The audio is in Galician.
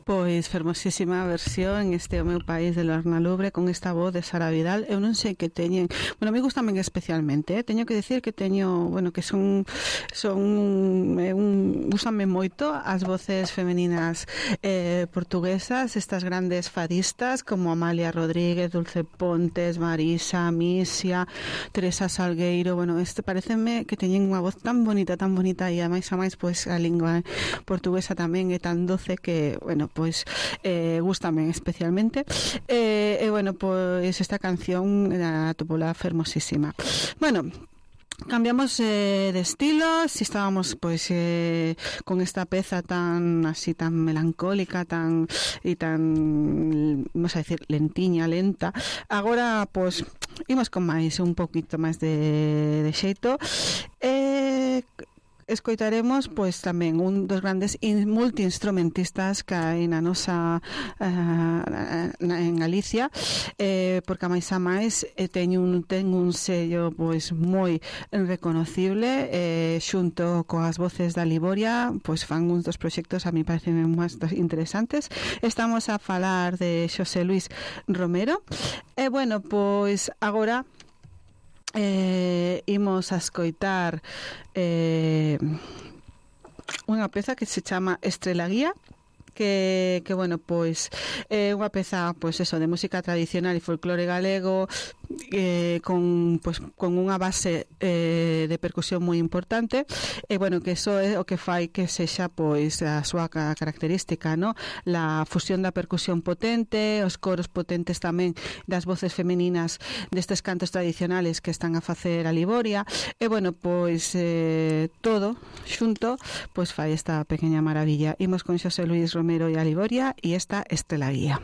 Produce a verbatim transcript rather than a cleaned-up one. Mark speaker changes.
Speaker 1: Pois fermosísima versión este O meu país de Lorna Lubre con esta voz de Sara Vidal. Eu non sei que teñen, bueno, me gustan ben especialmente, eh? Teño que decir que teño, bueno, que son son eh, un, gustanme moito as voces femeninas eh, portuguesas, estas grandes fadistas como Amalia Rodríguez, Dulce Pontes, Marisa, Misia, Teresa Salgueiro. Bueno, este pareceme que teñen unha voz tan bonita, tan bonita, e a máis a máis pois a lingua portuguesa tamén é tan doce que, bueno, pois eh, gústame especialmente e eh, eh, bueno, pois esta canción a topola fermosísima. Bueno, cambiamos eh, de estilo. Si estábamos pois eh, con esta peza tan así tan melancólica, tan e tan, vamos a decir, lentiña, lenta. Agora pois imos con máis un poquito máis de, de xeito. Eh escoitaremos pois tamén un dos grandes multiinstrumentistas que hai na nosa uh, na, en Galicia, eh, porque a máis a máis eh, ten un, ten un sello pois moi reconocible, eh, xunto coas voces da Liboria, pois fan uns dos proxectos a mí parecen máis interesantes. Estamos a falar de Xosé Luis Romero e, bueno, pois agora Eh, imos a escoitar eh, unha peza que se chama Estrela Guía, que, que bueno, pois é eh, unha peza, pois eso, de música tradicional e folclore galego, eh, con, pois, con unha base eh, de percusión moi importante, e bueno, que eso é o que fai que sexa pois a súa característica, no? La fusión da percusión potente, os coros potentes tamén das voces femeninas destes cantos tradicionales que están a facer a Liboria, e bueno, pois eh, todo xunto pois fai esta pequena maravilla. Imos con Xosé Luis Romero e a Liboria e esta Estrela Guía.